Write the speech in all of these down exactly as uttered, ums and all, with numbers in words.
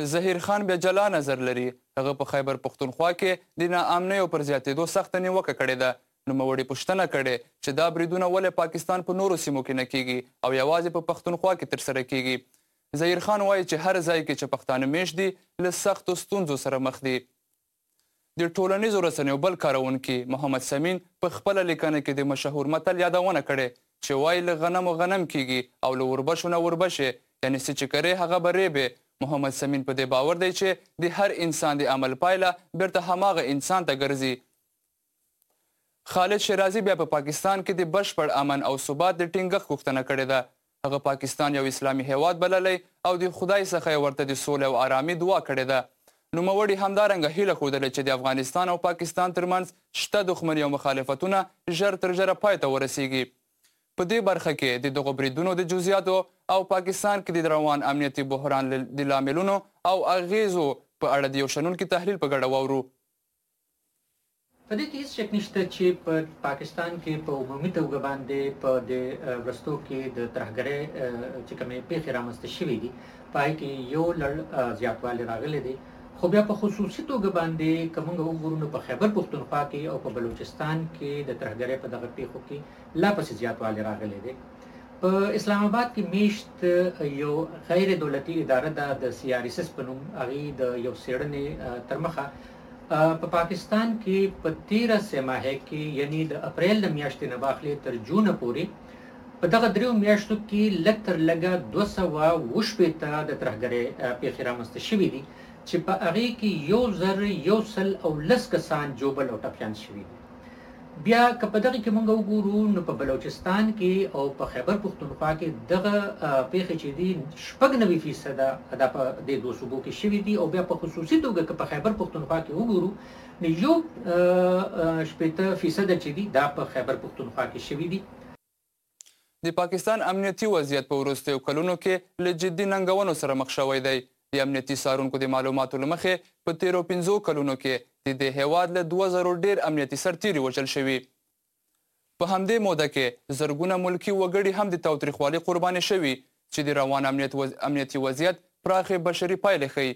ظهیر خان بیا جلا نظر لري. هغه په خیبر پښتونخوا کې د ناامنیو پر زیاتېدو سخته نیوکه کړې ده. نوموړي پوښتنه کړې چې دا بریدونه ولې پاکستان په نورو سیمو کې نه کیږي او یوازې په پښتونخوا کې ترسره کیږي. ظهیر خان وایي چې هر ځای کې چې پښتانه میشت دي له سختو ستونزو سره مخ دي. د ټولنیزو رسنیو بل کاروونکي محمد سمین په خپله لیکنه کې د مشهور متل یادونه کړې چې وایي له غنمو غنم کیږي او له وربشو نه وربشې، یعنې څه چې کرې هغه به ریبې. محمد سمین په دې باور دی چې د هر انسان د عمل پایله بیرته هماغه انسان ته ګرځي. خالد شیرازي بیا په پاکستان کې د بشپړ امن او ثبات د ټینګښت غوښتنه کړې ده. هغه پاکستان یو اسلامي هیواد بللی او د خدای څخه یې ورته د سولې او آرامي دعا کړې ده. نوموړي همدارنګه هیله ښودلې چې د افغانستان او پاکستان ترمنځ شته دښمني او مخالفتونه ژر تر ژره پای ته ورسیږي. په دې برخه کې د دغو بریدونو د جزئیاتو او پاکستان کې د روان امنیتي بحران د لاملونو او اغیزو په اړه د یو شنونکي تحلیل په ګډه واورو. په دې کې هیڅ شک نشته چې په پاکستان کې په عمومي توګه باندې په دې وروستو کې د ترهګرۍ چې کومې پیښې رامنځته شوې دي په هغې کې یو لړ زیاتوالی راغلی دی. خو بیا په خصوصي توګه باندې که موږ وګورو نو په خیبر پښتونخوا کې او په بلوچستان کې د ترهګرۍ په دغه پیښو کې لا پسې زیاتوالی راغلی دی. په اسلام آباد کې میشت یو غیر دولتي اداره ده د سي آر اس اس په نوم، هغې د یو څېړنې ترمخه په پاکستان کې په تیره سه ماهۍ کې یعنی د اپریل د میاشتې نه واخلې تر جونه پورې په دغه دریو میاشتو کې لږ تر لږه دوه سوه اووه شپېته د ترهګرۍ پیښې رامنځته شوې دي چې په هغې کې یو زر یو سل او لس کسان ژوبل او ټپیان شوي دي. بیا که په دغه کې موږ وګورو نو په بلوچستان کې او په خیبر پښتونخوا کې دغه پیښې چې دي شپږ نوي فیصده دا په دې دوو صوبو کې شوي دي. او بیا په خصوصي توګه که په خیبر پښتونخوا کې وګورو نو یو شپېته فیصده چې دي دا په خیبر پښتونخوا کې شوي دي. د پاکستان امنیتي وضعیت په وروستیو کلونو کې له جدي ننګونو سره مخ شوی دی. د امنیتي څارونکو د معلوماتو له مخې په تیرو پنځو کلونو کې د دې هیواد له دوه زرو ډېر امنیتي سرتیري وژل شوي. په همدې موده کې زرګونه ملکي وګړي هم د تاوتریخوالي قرباني شوي چې د روان امنیت وز... امنیتي وضعیت پراخې بشري پایلې ښيي.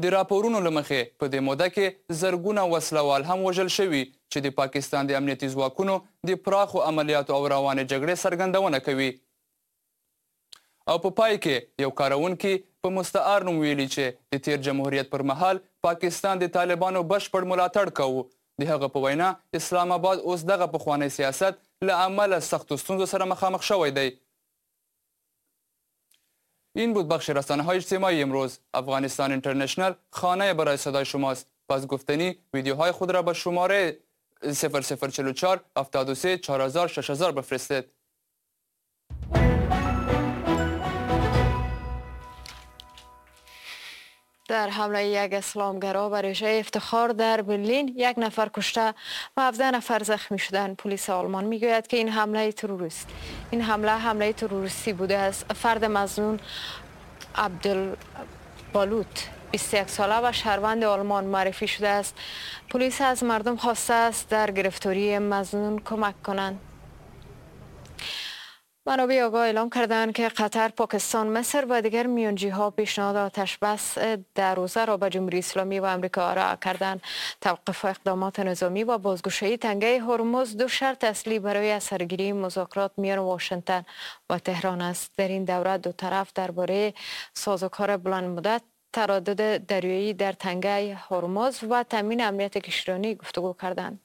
د راپورونو له مخې په دې موده کې زرګونه وسلوال هم وژل شوي چې د پاکستان د امنیتي ځواکونو د پراخو عملیاتو او روانې جګړې څرګندونه کوي. او په پای کې یو کاروونکي په مستعار نوم ویلي چې د تیر جمهوریت پر مهال پاکستان د طالبانو بشپړ ملاتړ کاوه. د هغه په وینا اسلام آباد اوس دغه پخوانی سیاست له امله سختو ستونزو سره مخامخ شوی دی. این بود بخش رسانه‌های اجتماعی امروز. افغانستان اینترنشنال خانه برای صدای شماست. پس گفتنی ویدیوهای خود را به شماره صفر صفر چهل و چهار هفتاد و سه چهار هزار شش هزار بفرستید. در حمله یک اسلامگرا بر رژه افتخار در برلین یک نفر کشته و هفده نفر زخمی شدند. پلیس آلمان میگوید که این حمله تروریست این حمله حمله تروریستی بوده است. فرد مظنون عبدالبالوت بیست و یک ساله و شهروند آلمان معرفی شده است. پلیس از مردم خواسته است در گرفتاری مظنون کمک کنند. منابع آگاه اعلام کردند که قطر، پاکستان، مصر و دیگر میانجی ها پیشنهاد آتش بس در روزه را به جمهوری اسلامی و امریکا ارائه کردند. توقف اقدامات نظامی و بازگشایی تنگه هرمز دو شرط اصلی برای اثرگیری مذاکرات میان واشنگتن و تهران است. در این دوره دو طرف درباره سازوکار بلند مدت، تردد دریایی در تنگه هرمز و تامین امنیت کشتیرانی گفتگو کردند.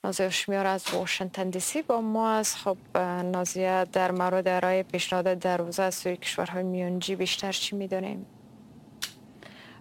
نازیه هاشمیار از واشنگتن دی سی با ما از. خب نازیه، در مورد ارائه پیشنهاد در روزه از سوی کشورهای میانجی بیشتر چی میدانیم؟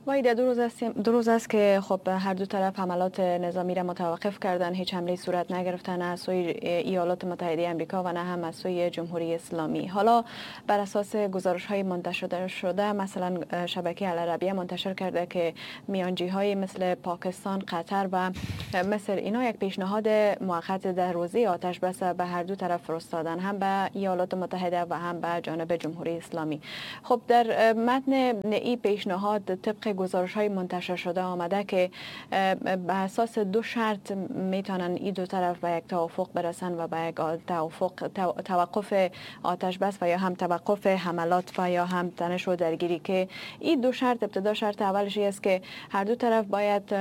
وحیده، دو روز است دو روز است که خب هر دو طرف حملات نظامی را متوقف کردن، هیچ حمله صورت نگرفتن از سوی ایالات متحده آمریکا و نه هم از سوی جمهوری اسلامی. حالا بر اساس گزارش های منتشر شده، مثلا شبکه العربیه منتشر کرده که میانجی های مثل پاکستان، قطر و مصر اینا یک پیشنهاد موقت در روزه آتش بس به هر دو طرف فرستادن، هم به ایالات متحده و هم به جانب جمهوری اسلامی. خب در متن این پیشنهاد طبق گزارش های منتشر شده آمده که به اساس دو شرط میتونن این دو طرف به یک توافق برسن و به یک توافق توقف آتش بس و یا هم توقف حملات و یا هم تنش و درگیری، که این دو شرط، ابتدا شرط اولش است که هر دو طرف باید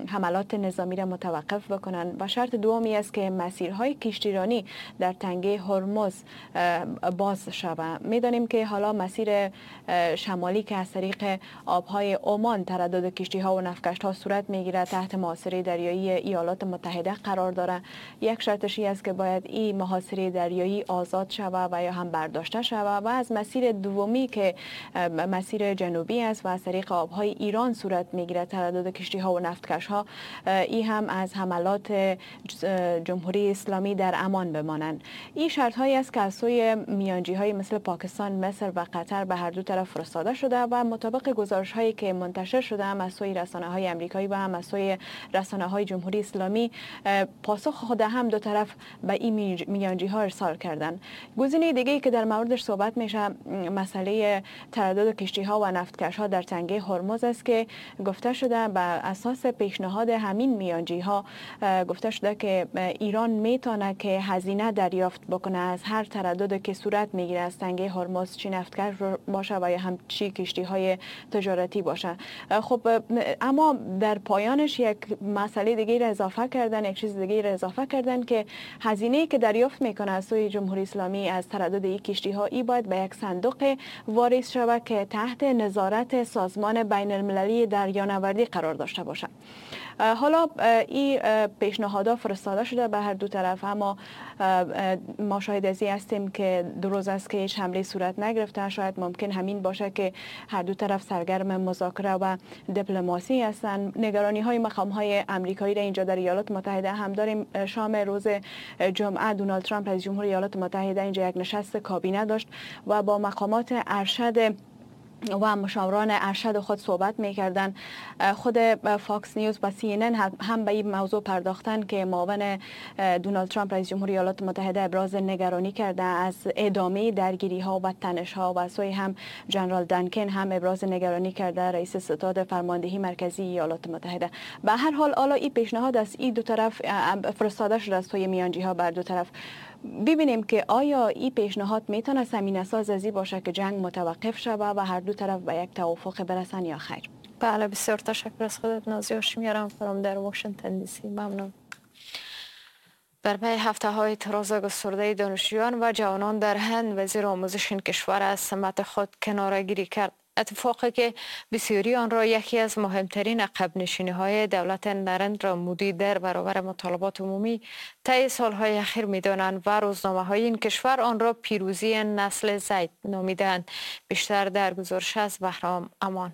حملات نظامی را متوقف بکنن و شرط دومی است که مسیرهای کشتیرانی در تنگه هرمز باز شود. میدانیم که حالا مسیر شمالی که از طریق آبهای عمان تردد کشتی ها و نفتکش ها صورت میگیره تحت محاصره دریایی ایالات متحده قرار داره. یک شرطش است که باید این محاصره دریایی آزاد شود و یا هم برداشته شود و از مسیر دومی که مسیر جنوبی است و از طریق آبهای ایران صورت میگیره تردد کشتی ها و نفتکش ها، این هم از حملات جمهوری اسلامی در امان بمانند. این شرط هایی است که از سوی میانجی های مثل پاکستان، مصر و قطر به هر دو طرف فرستاده شده و مطابق گزارش هایی که منتشر شده هم از سوی رسانه های امریکایی و هم از سوی رسانه های جمهوری اسلامی، پاسخ خود هم دو طرف به این میانجی ها ارسال کردن. گزینه دیگه که در موردش صحبت میشه مسئله تردد کشتی ها و نفتکش ها در تنگه هرمز است که گفته شده بر اساس پیشنهاد همین میانجی ها گفته شده که ایران میتونه که هزینه دریافت بکنه از هر تردد که صورت میگیره از تنگه هرمز، چی نفتکش باشه و یا هم چی کشتی های تجارتی باشه. خب اما در پایانش یک مسئله دیگه را اضافه کردن، یک چیز دیگه را اضافه کردن که هزینه‌ای که دریافت میکنه از سوی جمهوری اسلامی از تردد این کشتی ها، ای باید به یک صندوق واریز شود که تحت نظارت سازمان بین المللی دریانوردی قرار داشته باشه. حالا این پیشنهادها فرستاده شده به هر دو طرف، اما ما شاهد از این هستیم که دو روز است که هیچ حمله صورت نگرفته. شاید ممکن همین باشه که هر دو طرف سرگرم مذاکره و دیپلماسی هستند. نگرانی های مقام های امریکایی را اینجا در ایالات متحده هم داریم. شام روز جمعه دونالد ترامپ رئیس جمهور ایالات متحده اینجا یک نشست کابینه داشت و با مقامات ارشد و مشاوران ارشد خود صحبت می‌کردند. خود فاکس نیوز و سی ان ان هم به این موضوع پرداختن که معاون دونالد ترامپ رئیس جمهوری ایالات متحده ابراز نگرانی کرده از ادامه درگیری‌ها و تنش‌ها و سوی هم جنرال دانکن هم ابراز نگرانی کرده، رئیس ستاد فرماندهی مرکزی ایالات متحده. به هر حال حالا این پیشنهاد از این دو طرف فرستاده شده از سوی میانجی‌ها بر دو طرف. ببینیم که آیا این پیشنهاد میتونه زمینه ساز ازی باشه که جنگ متوقف شود و هر دو طرف به یک توافق برسن یا خیر. بله، بسیار تشکر از خودت نازی هاشمی همکارم در واشنگتن دی سی. ممنون. در پی هفته های اعتراض گسترده دانشجویان و جوانان در هند، وزیر آموزش این کشور از سمت خود کناره‌گیری کرد. اتفاقی که بسیاری آن را یکی از مهمترین عقب نشینی های دولت نرندرا مودی در برابر مطالبات عمومی طی سالهای اخیر می‌دانند و روزنامه های این کشور آن را پیروزی نسل زید نامیدند. بیشتر در گزارش از بهرام امان.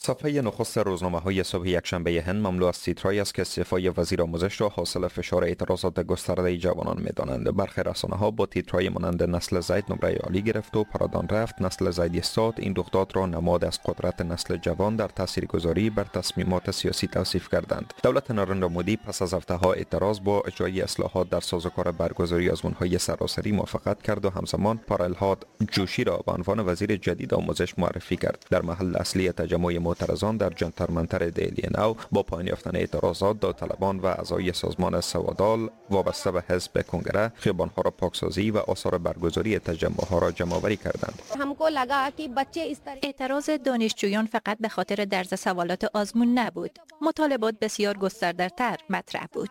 صفحه نخست روزنامه‌های صبح یکشنبه هند مملو از تیترهایی است که استعفای وزیر آموزش را حاصل فشار اعتراضات گسترده جوانان می‌دانند. برخی رسانه‌ها با تیترهای مانند نسل زید نمره عالی گرفت و پرادان رفت، نسل زید ایستاد، این رخداد را نماد از قدرت نسل جوان در تاثیرگذاری بر تصمیمات سیاسی توصیف کردند. دولت نارندرا مودی پس از هفته‌ها اعتراض با اجرای اصلاحات در سازوکار برگزاری آزمون‌های سراسری موافقت کرد و همزمان پرالهاد جوشی را به عنوان وزیر جدید آموزش معرفی کرد. در محل اصلی تجمع معترضان در جنتر منتر دهلی نو با پایان یافتن اعتراضات، داوطلبان و اعضای سازمان سوادال وابسته به حزب کنگره خیابانها را پاکسازی و آثار برگزاری تجمعها را جمع‌آوری کردند. اعتراض دانشجویان فقط به خاطر درز سوالات آزمون نبود، مطالبات بسیار گسترده‌تر مطرح بود.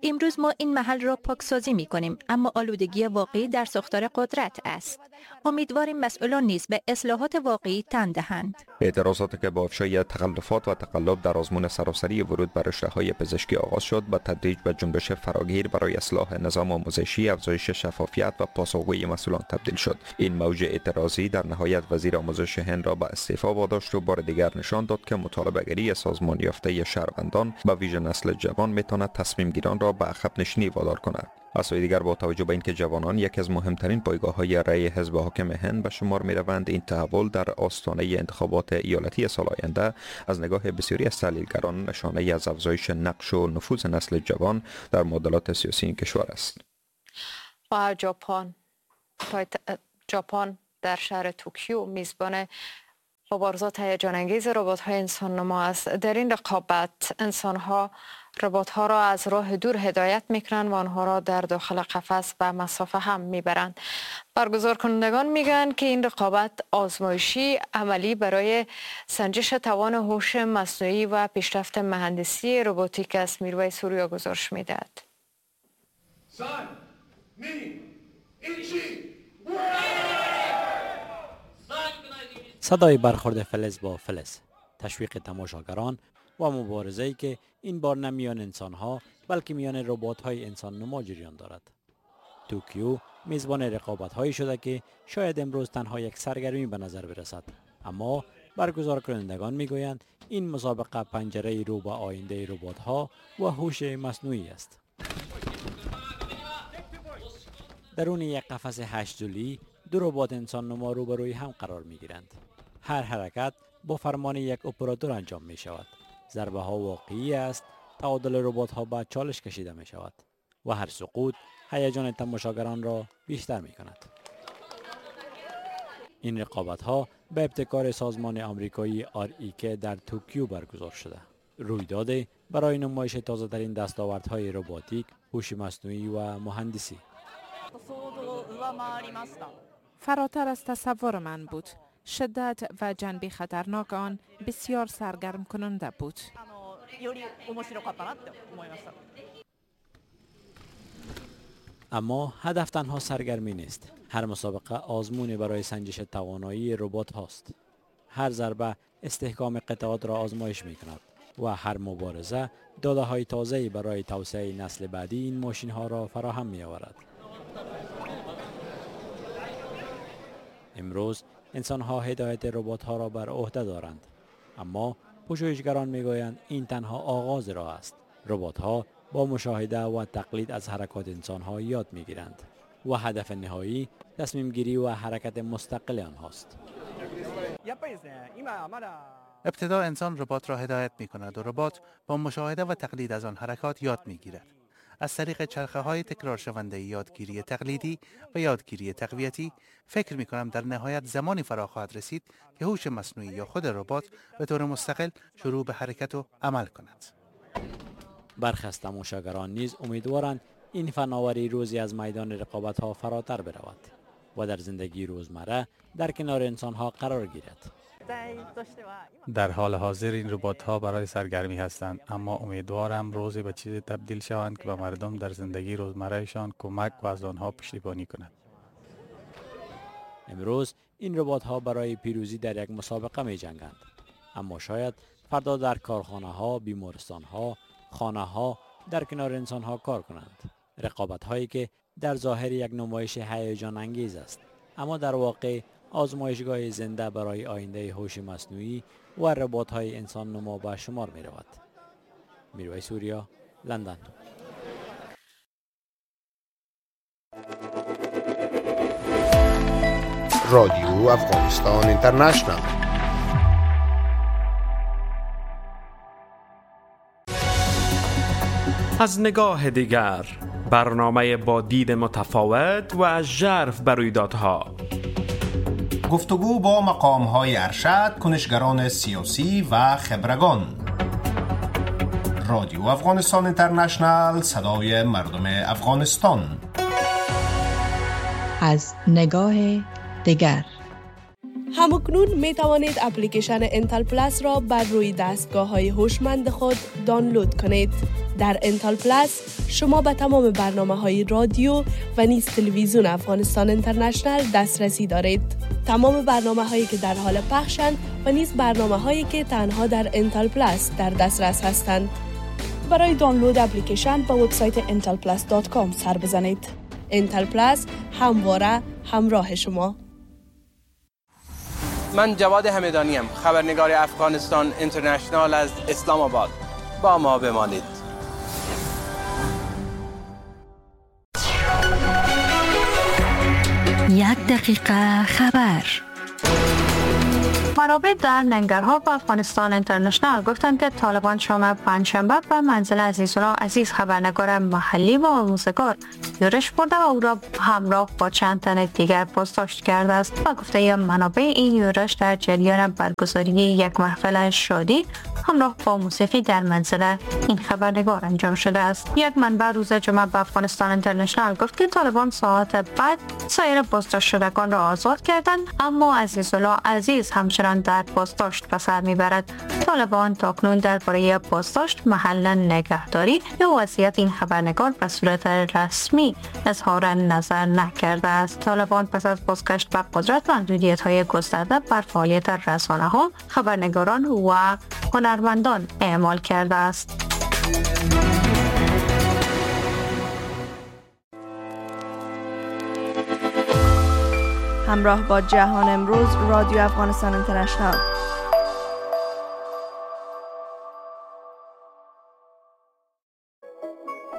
امروز ما این محل را پاکسازی می‌کنیم، اما آلودگی واقعی در ساختار قدرت است. امیدواریم مسئولان نیز به اصلاحات واقعی تن دهند. اعتراضاتی که با افشای تخلفات و تقلب در آزمون سراسری ورود به رشته‌های پزشکی آغاز شد، به تدریج به جنبش فراگیر برای اصلاح نظام آموزشی، افزایش شفافیت و پاسخگویی مسئولان تبدیل شد. این موج اعتراضی در نهایت وزیر آموزش هند را به استعفا واداشت و بار دیگر نشان داد که مطالبه‌گری سازمان یافته شهروندان به ویژه نسل جوان میتواند تصمیم گیران را به عقب نشینی وادار کند. از سوی دیگر با توجه به اینکه جوانان یکی از مهمترین پایگاه‌های رأی حزب حاکم هند به شمار می‌روند، این تحول در آستانه انتخابات ایالتی سال آینده از نگاه بسیاری از تحلیلگران نشانه از افزایش نقش و نفوذ نسل جوان در معادلات سیاسی این کشور است. و ژاپن ژاپن در شهر توکیو میزبان مبارزات هیجان انگیز ربات‌های انسان نما است. در این رقابت انسان‌ها ربات‌ها را از راه دور هدایت می‌کنند و آنها را در داخل قفس به مسافه هم می‌برند. برگزار کنندگان میگن که این رقابت آزمایشی عملی برای سنجش توان هوش مصنوعی و پیشرفت مهندسی رباتیک است. میرویس سوریا گزارش می‌دهد. صدای برخورد فلز با فلز، تشویق تماشاگران و مبارزه‌ای که این بار نه میان انسان‌ها بلکه میان ربات‌های انسان نما جریان دارد. توکیو میزبان رقابت‌هایی شده که شاید امروز تنها یک سرگرمی به نظر برسد، اما برگزار کنندگان میگویند این مسابقه پنجره رو به آینده ربات‌ها و هوش مصنوعی است. درون یک قفس هشت ضلعی دو ربات انسان نما روبروی هم قرار میگیرند. هر حرکت با فرمان یک اپراتور انجام می شود. ضربه ها واقعی است، تعادل ربات ها به چالش کشیده می شود و هر سقوط هیجان تماشاگران را بیشتر می کند. این رقابت ها به ابتکار سازمان آمریکایی آر ای کی در توکیو برگزار شده. رویداد برای نمایش تازه ترین دستاوردهای رباتیک، هوش مصنوعی و مهندسی. فراتر از تصور من بود. شدت و جنبه خطرناک آن بسیار سرگرم کننده بود. اما هدف تنها سرگرمی نیست. هر مسابقه آزمونی برای سنجش توانایی ربات هاست. هر ضربه استحکام قطعات را آزمایش می کند و هر مبارزه داده های تازه‌ای برای توسعه نسل بعدی این ماشین ها را فراهم می آورد. امروز انسان ها هدایت ربات ها را بر عهده دارند، اما پژوهشگران میگویند این تنها آغاز راه است. ربات ها با مشاهده و تقلید از حرکات انسان ها یاد میگیرند و هدف نهایی تصمیم گیری و حرکت مستقل آنهاست. ابتدا انسان ربات را هدایت می کند و ربات با مشاهده و تقلید از آن حرکات یاد می گیرد. از طریق چرخه های تکرار شونده یادگیری تقلیدی و یادگیری تقویتی فکر می کنم در نهایت زمانی فرا خواهد رسید که هوش مصنوعی یا خود ربات به طور مستقل شروع به حرکت و عمل کند. برخی از تماشاگران نیز امیدوارند این فناوری روزی از میدان رقابت ها فراتر برود و در زندگی روزمره در کنار انسان ها قرار گیرد. در حال حاضر این ربات ها برای سرگرمی هستند، اما امیدوارم روزی به چیزی تبدیل شوند که به مردم در زندگی روزمرهشان کمک و از آنها پشتیبانی کند. امروز این ربات ها برای پیروزی در یک مسابقه می جنگند، اما شاید فردا در کارخانه ها، بیمارستان ها، خانه ها در کنار انسان ها کار کنند. رقابت هایی که در ظاهر یک نمایش هیجان انگیز است، اما در واقع آزمایشگاه زنده برای آینده هوش مصنوعی و ربات‌های انسان نما به شمار می رود. میرویس سوریا، لندن. رادیو افغانستان اینترنشنال. از نگاه دیگر، برنامه با دید متفاوت و ژرف بر رویدادها. گفتگو با مقام‌های ارشد، کنشگران سیاسی و خبرگان. رادیو افغانستان اینترنشنال، صدای مردم افغانستان. از نگاه دیگر. همکنون می توانید اپلیکیشن انتل پلاس را بر روی دستگاه های هوشمند خود دانلود کنید. در انتل پلاس شما به تمام برنامه های رادیو و نیز تلویزیون افغانستان اینترنشنال دسترسی دارید. تمام برنامه هایی که در حال پخشند و نیز برنامه هایی که تنها در انتل پلاس در دسترس هستند. برای دانلود اپلیکیشن به وبسایت انتل پلاس دات کام سر بزنید. انتل پلاس همواره همراه شما. من جواد همدانیم، خبرنگار افغانستان اینترنشنال از اسلام آباد. با ما بمانید. یک دقیقه خبر. منابع در ننگرهار با افغانستان اینترنشنال گفتند که طالبان شام پنجشنبه به منزل عزیزالله عزیز، خبرنگار محلی و آموزگار، یورش برده و او را همراه با چند تن دیگر بازداشت کرده است. با گفته منابع، این یورش در جریان برگزاری یک محفل شادی همراه با موسیقی در منزل این خبرنگار انجام شده است. یک منبع روز جمعه به افغانستان اینترنشنال گفت که طالبان ساعت بعد سایر بازداشت شدگان را آزاد کردند، اما عزیزالله عزیز همچنان در بازداشت به سر میبرد. طالبان تاکنون درباره بازداشت، محل نگهداری یا وضعیت این خبرنگار به صورت رسمی اظهار نظر نکرده است. طالبان پس از بازگشت به قدرت، محدودیت‌های گسترده بر فعالیت رسانه‌ها، خبرنگاران و هنرمندان اعمال کرده است. همراه با جهان امروز، رادیو افغانستان اینترنشنال.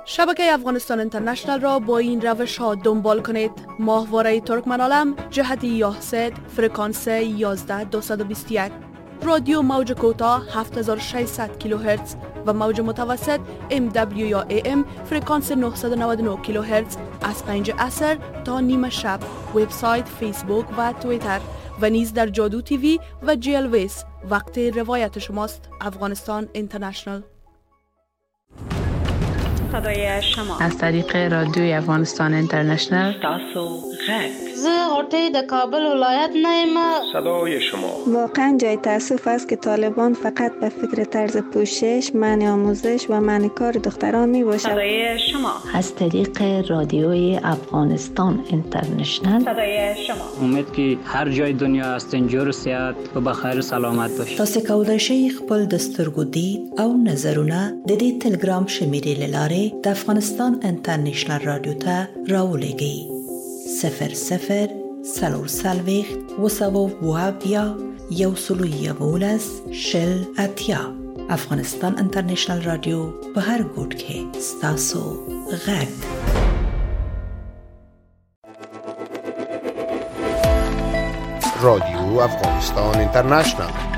شبکه افغانستان اینترنشنال را با این روش ها دنبال کنید: ماهواره ترکمن عالم جهت یاهست فرکانس یازده دویست و بیست و یک، رادیو موج کوتاه هفت هزار و ششصد کیلوهرتز و موج متوسط ام دبلیو یا ای ام فرکانس نهصد و نود و نه کیلوهرتز از پنج عصر تا نیمه شب، وبسایت، فیسبوک و توییتر و نیز در جادو تیوی و جی ال ویس. وقت روایت شماست. افغانستان اینترنشنال. صدای شما از طریق رادیوی افغانستان اینترنشنال. تاسو غږ. زه غوټۍ د کابل ولایت نه یم. صدای شما. واقعا جای تاسف است که طالبان فقط به فکر طرز پوشش، منع آموزش و منع کار دختران می باشد. صدای شما از طریق رادیوی افغانستان اینترنشنال. صدای شما. امید که هر جای دنیا هستین جور صحت و بخیر و سلامت باشید. تاسو کولای شئ خپل د سترګو دید او نظرونه د دې تلګرام شمیرې له لارې د افغانستان انټرنشنل رادیو ته راولېږئ. صفر صفر څلور څلوېښت اووه سوه اووه اویا یو سل یوولس شل اتیا. افغانستان انټرنشنل رادیو په هر ګوټ کې ستاسو غږ. رادیو افغانستان اینترنشنال.